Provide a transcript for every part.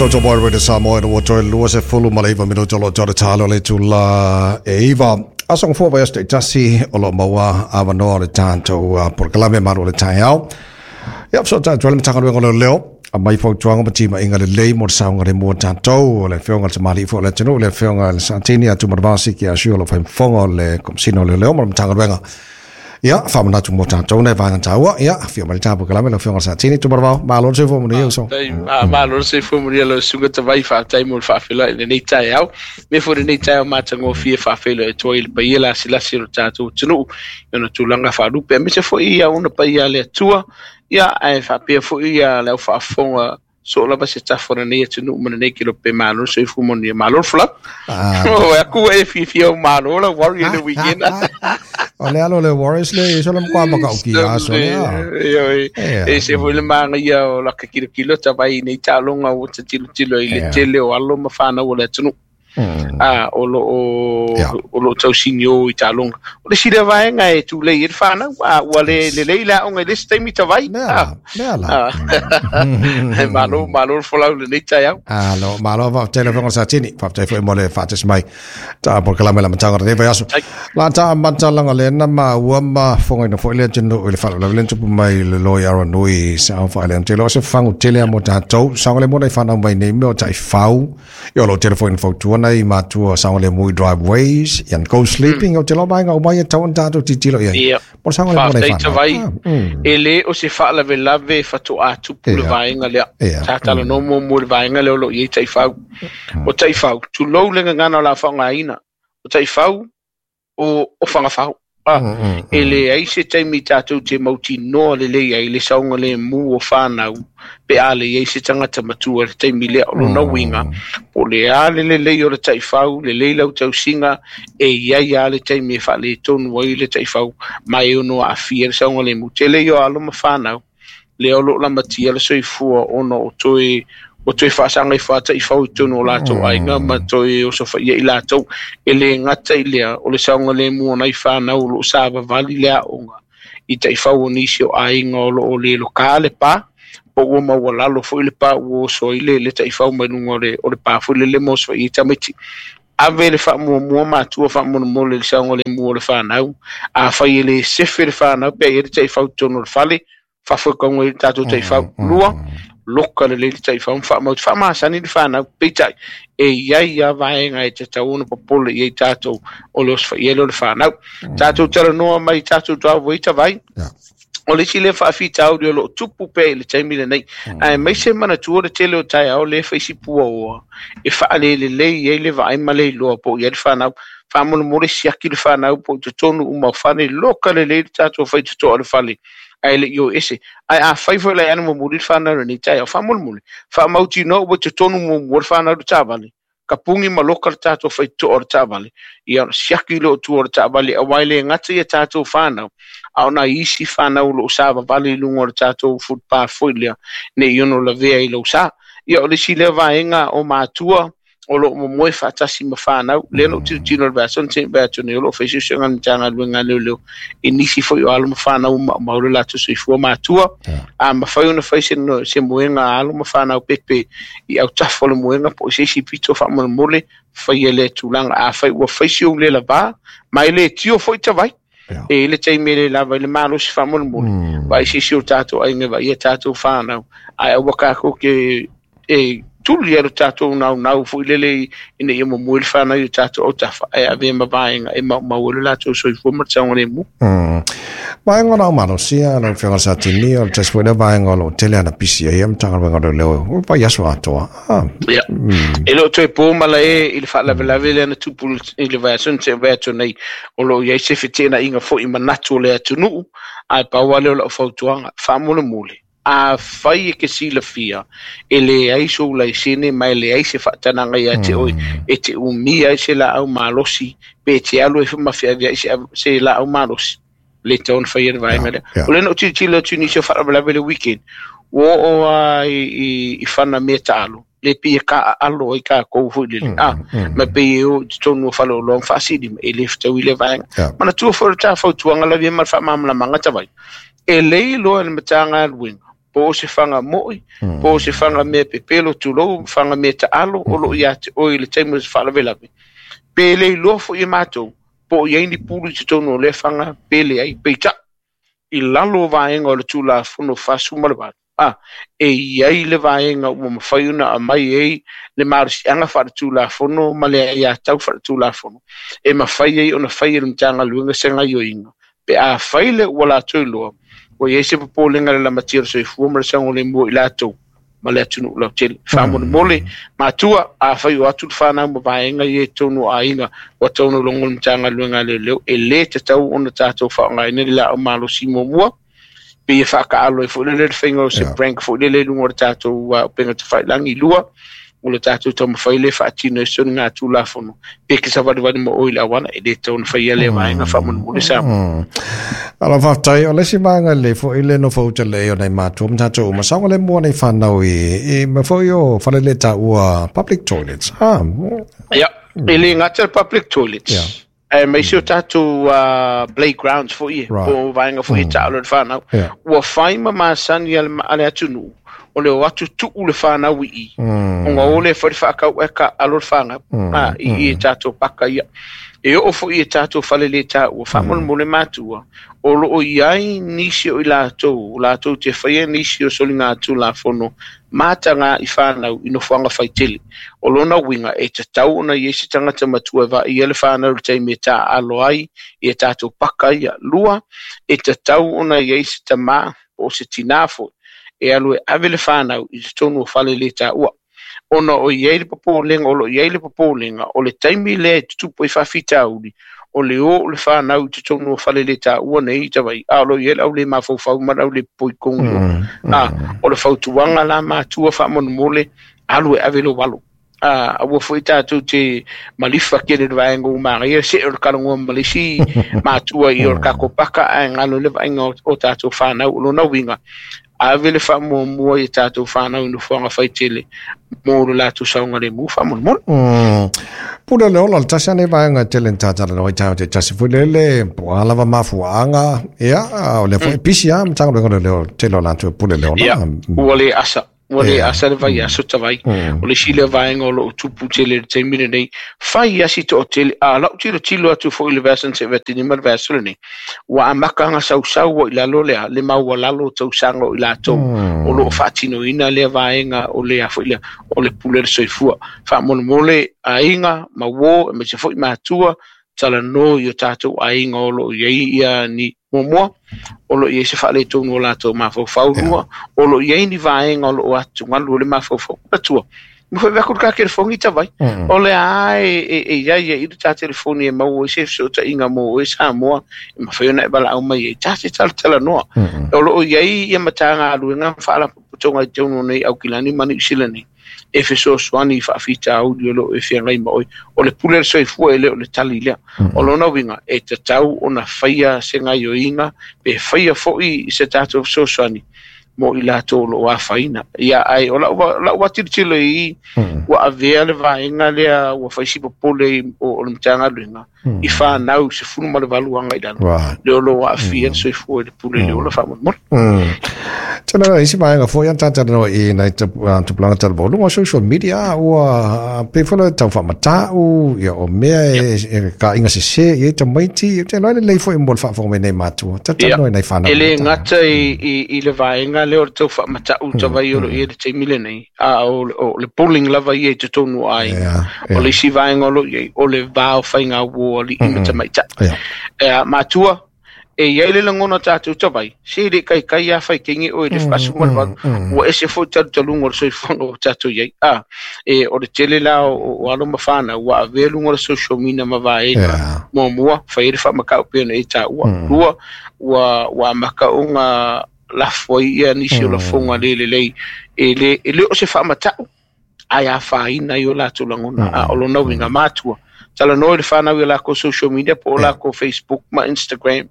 Toto Boy Radio Samoa i le ua toe 29 minute o lo o tau le talo le itula e 9. Aso gafua vaiaso taitasi o lo o maua avanoa o le tatou polokalame malu o le taeao. Ia, fesoatai atu ai le Matagaluega o Leoleo, aumai fautuaga ma timaiga lelei mo le saogalemu o tatou, o le Afioga i le Tamalii foi o le atunuu, le Afioga i le Satini ia Tumanavasi Ki Asiu o lo o fai ma fofoga o le Komesina o Leoleo ma le Matagaluega. Ia, faamanatu mo tatou nai vaega taua. Ia, afio mai le tapu kalame lau Afioga i le Satini Tumanavao. Malo le soifua manuia uso. Faafetai, malo le soifua manuia lau Susuga Tavai, faafetai mo le faafeiloai i lenei taeao. Me foi lenei taeao matagofie faafeiloai atu ai i le paia lasilasi o le tatou atunuu i ona tulaga faalupe, aemaise foi ia ona paia a le Atua, ia ae faapea foi ia le au faafofoga soo lava se tafa o lenei atunuu ma lenei kelope. Malo le soifua manuia, malo le folau. O aku e fiafia o malo la Warrior le weekend. O le alo le Warriors le iso le mkwa maka uki aso le a. E se foi le manaia o la ka kilokilo tavai nei taaloga ua tilotilo i le tele o alo ma whanau o le atunuu. O lo o tausini o i taaloga. O le isi lea vaega e tulei ai le whanau, ua le lelei le aoga i le isi taimi tavai. Mea la, mea la. Malo, malo le folau lenei taeao. Alo, malo faafetai lau Afioga i le Satini. Faafetai foi mo le faatasi mai. Ta polokalame la amataga o lenei vaiaso. La ta amata laga lea na maua ma fofogaina foi le atunuu i le faalavelave lea na tupu mai i le loi Aranui sa faaleaga. Ou te iloa o se fagu tele lava mo tatou. Saogalemu nai fanau mai nei mea o taifau. Ia o lo o tele foi ina fautua nai matua saogalemu i driveways, and go sleeping. Ou te iloa vaega uma ia e tatau ona tatou tilotilo i ai. Mo le saogalemu o nai Faafetai fanau. Tavai. E le o se faalavelave faatoa tupu le vaega lea. Sa talanoa muamua i le vaega lea o lo o i ai taifau. O taifau, tulou le gagana o le a faaaogaina. O taifau, o Fagafau. E leai se taimi tatou te mautinoa lelei ai le saogalemu o whanau pe a le iai se tagata matua i le taimi lea. O lona uiga, po o le a le lelei o le taifau, lelei lau tausiga, e iai lava le taimi e faaletonu ai le taifau ma e ono aafia le saogalemu. Tele ia o alo ma whanau, lea o lo o lamatia le soifua ona o toe o toe faasaga ifo a taifau i totonu o latou aiga ma toe osofaia i latou. E le gata i lea, o le saogalemu o nai whanau o lo o savavali le aoga i taifau o nisi o aiga o lo o le loka le pa, po ua maualalo foi le pa ua oso ai le taifau mai luga o le pa foi lele ma osofaia i tamaiti. Ave le faamuamua matua faamolemole i le saogalemu o le whanau. A fai e le sefe le whanau, pe i ai le taifau i totonu o le fale, faafoekaoga ai le tatou taifau. Lua, loka lelei le taifau ma faamautu. Faamasani le whanau, peitai, e iai a vaega e tatau ona popole i ai tatou o le osofaia lea o le whanau. Tatou talanoa mai tatou driveway tavai. O le isi lea faafitauli o lo o tupu pea i le taimi lenei. Aemaise manatua le tele o taeao le faisi puaoa e faalelelei ai le vaai ma le iloa po o i ai le whanau. Faamolemole siaki le whanau po i totonu uma o fale, loka lelei le tatou faitotoa o le fale. Ae le i o ese. Ae a fai foi lai ana muamuli le whanau lenei taeao. Faamolemole, faamautinoa ua i totonu muamua le whanau le taavale. Ka pungi ma loka le tatou faitotoa o le taavale. Ia siaki le o tua o le taavale, aua e le gata ia tatou whanau. A o nai isi whanau o lo o savavali i luga o le tatou footpath foi lea, nei ono lavea i lau sa. Ia o le isi lea vaega o matua o lo o momoe faatasi ma whanau. Lea na ou tilotilo i le vaiaso na tea vae atu nei, o lo o fai suesuega a le Matagaluega a Leoleo i nisi foi o alo ma whanau maumau le latou soifua matua. A mafai ona fai se moega a alo ma whanau pepe i autafa o le moega po o se isi pito faamolemole, faia lea tulaga. A fai ua fai si ou le lavā, ma e le tio foi tavai. E le taimi e le lava i le malosi faamolemole. Vaai se isi o tatou aiga, vaai ia tatou whanau. Ae aua kākou ke e tuli ai lo tatou naunau foi lele ina ia momoe le whanau i o tatou autafa, ae avea ma vaega e maumau ai lo latou soifua ma le saogalemu. Vaega o lau malosi a lau Afioga i le Satini, o le tasi foi lea vaega o lo o tele ana pisi ai ia Matagaluega o Leoleo, o vaiaso atoa. Ia. E le o toe po malae i le faalavelave lea na tupu i le vaiaso na tea vae atu nei, o lo o i ai se feteenaiga foi i manatu o le atunuu, ae pau lava lea o lau fautuaga, faamolemole. A fai e ke silafia, e leai sou laisene ma e leai se faatanaga ia te oe, e te umia ai se laau malosi, pe te alu ai foi ma feaveai se laau malosi. Le tatau ona faia le vaega lea. O lea na ou tilotilo atu i nisi o faalavelave le weekend, ua oo lava i fana mea taalo, le pei e kaaalo ai kākou foi lele. Ma pei e o i totonu o faleoloa ma faasili ma e le fetaui le vaega. Manatua foi le ta fautuaga lavea ma le faamalamalamaga tavai. E le iloa e le Matagaluega Po o se faga mo'i, po o se faga mea pepelo, tulou, faga mea taalo, o loo ia te oe i le taimi o se faalavelave. Pe le iloa foi e matou, po o i ai ni pulu i totonu o lea faga, pe leai. Peitai, i lalo o vaega o le Tulafono 48, a, e i ai le vaega ua mafai ona aumai ai le malosiaga faaletulafono ma le aiatau faaletulafono, e mafai ai ona fai e le Matagaluega se gaioiga, pe afai le ua latou iloa, ua i ai se popolega i le lamatia o le soifua ma le saogalemu o i latou ma le atunuu lautele. Faamolemole, matua, afai o atu le fanau ma vaega ia i totonu o aiga, ua tatau ona logo le Matagaluega a Leoleo, e le tatau ona tatou faaaogaina le laau malosi muamua, pei e faataalo ai foi lele le faiga o se prank foi lele i luga o le tatou upega tafailagi. Lua, o le tatou taumafai lea e faatino ai soligatulafono, pe ke savalivali ma oe i le auala, e le tatau ona faia lea vaega faamolemole Samoa. Alo faafetai, o le isi vaega lelei foi le nofo uta lelei o nai matua ma tatou uma saogalemu o nai whanau i mea foi o fale le taua public toilets. Ah. Ia, e le gata le public toilets. Yeah. Aemaise o tatou playgrounds foi e, po o vaega foi e taalo e le whanau. Ua fai ma masani a le atunuu, o le o atu tuu le whanau i i, ona o lea foi le whaakau e ka alo le whanau, i i e tatou paka ia. E oo foi i tatou fale le taua, faamolemole matua, o loo i ai nisi o i latou, latou te whaia nisi o soligatulafono mataga i whanau i nofoaga faitele. O lona uiga e tatau ona i ai se tagata matua e vaaia le whanau i le taimi e taaalo ai i a tatou paka ia. Lua, e tatau ona i ai se tamā po o se tinā foi e alu e ave le whanau i totonu o fale le taua. Ona o i ai le popolega, o lo i ai le popolega, o le taimi lea e tutupu ai faafitauli, o le o o le whanau i totonu o fale le taua nei i Tavaii, a o lo i ai le au le mafaufau ma le au le poikonu i o. O le fautuaga la matua faamolemole, alu e ave lou alo. Aua foi tatou te malifa tele le vaega ua manaia, see o le talanoa ma le isi matua i o le tatou paka, ae galo i le vaaiga o tatou whanau. O lona uiga, ave le faamuamua i tatou whanau i nofoaga faitele mo le latou saogalemu faamolemole. Pule le ola, le tasi ane vaega tele ni tātala no i tāu te tasi foi lele, po a lava mafuaanga, ia, o le foi pisi a, matanga le leo tele o latou pule le ola. Ia, ua le asa. Ua le asa le vaiaso tavai. O le isi lea vaega o loo tupu tele i le taimi lenei. Fai asi toatele, a lau tilotilo atu foi i le vaiaso na seʻi atu ma le vaiaso lenei, ua amata ona sausau ai i lalo lea le maualalo o tausaga o i latou o loo faatinoina lea vaega o lea foi lea o le pule o le soifua. Faamolemole aiga ma uō aemaise foi matua, talanoa i o tatou aiga o loo i ai ia ni muamua, o loo i ai se faaletonu o latou mafaufau. Lua, o loo i ai ni vaega o loo atugalu o le mafaufau. Matua, ma foi atu le ta telefoni tavai. O le a e i ai i le ta telefoni e maua ai se fesootaiga mo oe Samoa, e mafai ona e valaau mai ai. Ta te talatalanoa. O loo i ai ia Matagaluega ma faalapotopotoga i totonu o nei Aukilani ma Niu Sila nei, e fesoasoani i faafitauli o loo e feagai ma oe. O le pule o le soifua e le o le tali lea. O lona uiga, e tatau ona faia se gaioiga, pe faia foi se tatou fesoasoani mo i latou o loo afaina. Ia, ai o lau atilotilo i ua avea le vaega lea ua fai si popole o le Matagaluega i whanau 18 aga i lalo. Le o loo aafia le soifua i le pule le ola faamolemole. Tena isi vaega foi an tātara i nei tupulaga talavou luga o social media ua pei foi le tau faamata'u ia o mea e ka inga sesē i ai tamaiti te loa lelei foi mo le faafofoga mai nei matua tatalanoa i nai whanau. E le gata i le vaega lea o le tau faamata'u tavai o loo i ai le taimi lenei, a o le bullying lava ia i totonu o aiga. O le isi vaega o loo i ai, o le va o faiga uō ali'i ma tamaitai. Matua, e i ai le lagona tatou tavai, se le kaikai a fai kenge oe le 18, ua ese foi talutaluga o le soifuaga o tatou i ai. E o le tele la o alo ma whanau, ua avea luga o le social media ma vaega. Muamua, fai ai le faamata'u pei ona e taua. Lua, ua amata ona lafo ai ia nisi o lafoga le lelei, e le o se faamata'u, ae afaina ai o latou lagona. A o lona uiga matua, talanoa i le whanau i lako social media, po o lako Facebook ma Instagram.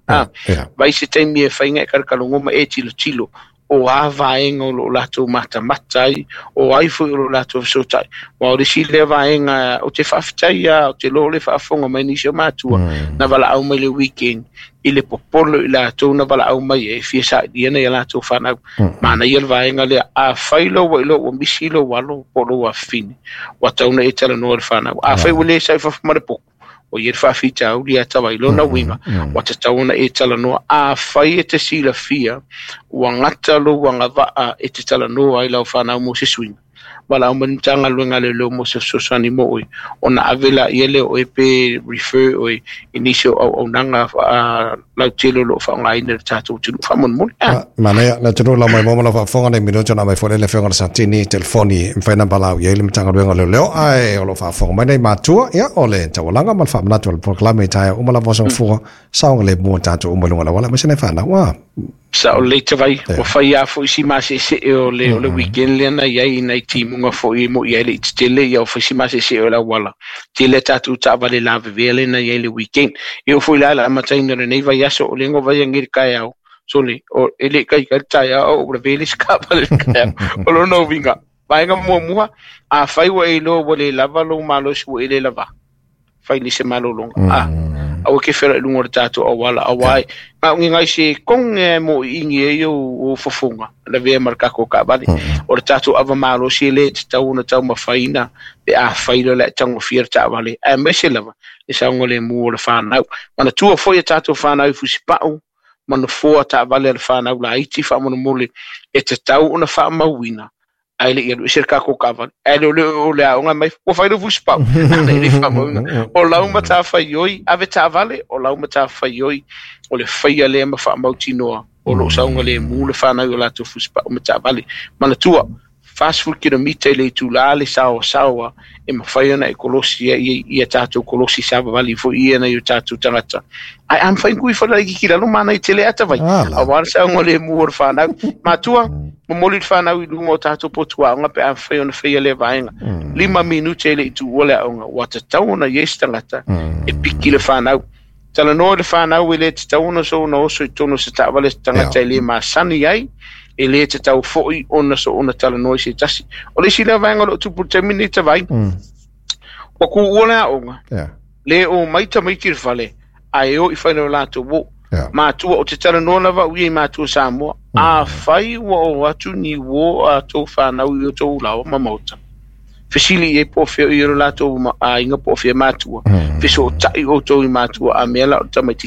Vai se taimi e whainga e karakalongo ma e tilotilo. O a vaega o loo latou matamata ai, o ai foi o loo latou fesootai. Aua o le isi lea vaega ou te faafetai lava, ou te iloa o le faafofoga mai nisi o matua na valaau mai i le weekend i le popole o i latou na valaau mai ai e fia sailia nai a latou fanau. Manaia le vaega lea, afai loa ua iloa ua misi lou alo po o lou afafine, ua tatau ona e talanoa i le fanau. Afai ua le sau i fafo ma le potu, ua i ai le faafitauli ia Tavai. Lona uiga, ua tatau ona e talanoa. Afai e te silafia ua gata lou agavaa e te talanoa ai lau fanau mo se suiga, valaau mai le Matagaluega a Leoleo mo se fesoasoani mo oe, ona ave laia lea o oe pe refer oe i nisi o auaunaga lautele o lo o faaaogaina e le tatou atunuu. Faamolemole. Ah. Manaia, le atunuu lau mai mo lau faafofoga nei minute ona aumai foi le Afioga i le Satini telefoni e mafai ona valaau i ai le Matagaluega o Leoleo, ae o lo o faafofoga mai nei matua, ia, o le taualaga ma le faamanatu o le polokalame i taeao uma lava o aso Gafua, saogalemu o tatou uma i luga o le auala aemaise nai fanau. Ah. Sao lelei Tavai, ua fai lava foi si maseesee o le, o le weekend lea na i ai i nai timuga foi e moi ai le i tetele, ia ua fai si maseesee o le auala. Tele a tatou taavale lavevea lea na i ai i le weekend. E oo foi la i le amataina o lenei vaiaso, o lea na ou vaai anei i le taeao, sole, o, e le i taitai le taeao a ua lavea le isi taavale i le taeao. O lona uiga, vaega muamua, afai ua e iloa ua le lava lou malosi ua e le lava, fai nei se malologa. A, aua e te feola i luga o le tatou auala, auā e na o ni nai sekone lava e mōʻiʻini ai ou fofoga, lavea ma le tatou taavale. O le tatou ava malosi e le tatau ona taumafaina pe afai loa o le a e tagofia le taavale, aemaise lava le saogalemu o le fanau. Manatua foi a tatou fanau i Fusipau ma nofoa taavale a le fanau laiti faamolemole e tatau ona faamauina ae le i alu ese le tatou taavale. Ae le o le o le aoga mai, ua fai lou fusipau. Ana e le i faamauina. O lau matafaioi, ave taavale, o lau matafaioi, o le faia lea ma faamautinoa o lo o saogalemu le fanau i o latou fusipau ma taavale. Manatua, 40 kilomita i le itula le saoasaoa e mafai ona e kolosi ai ia tatou kolosi savavali foi ia nai o tatou tagata. Ae a mafai ona tuu ifo le laitiiti i lalo, manaia tele ata vai. Aua le saogalemu o le fanau. Matua, momoli le fanau i luga o tatou potu aoga pe a mafai ona faia lea vaega. 5 minute e le i tuua le aoga, ua tatau ona i ai se tagata e piki le fanau. Talanoa i le fanau e le tatau ona soona oso i totonu o se taavale se tagata e le masani ai, e le tatau foi ona soona talanoa i se tasi. O le isi lea vaega o lo o tupu i le taimi lenei Tavai, ua tuua le aoga, le omai tamaiti i le fale, ae o i fale o latou uo. Matua, ou te talanoa lava au ia i matua Samoa, afai ua o atu ni uo a tou fanau i o tou laoa ma maota, fesili i ai po o fea o i ai lo latou aiga po o fea matua, fesootai outou i matua a mea la o le tamaitiiti.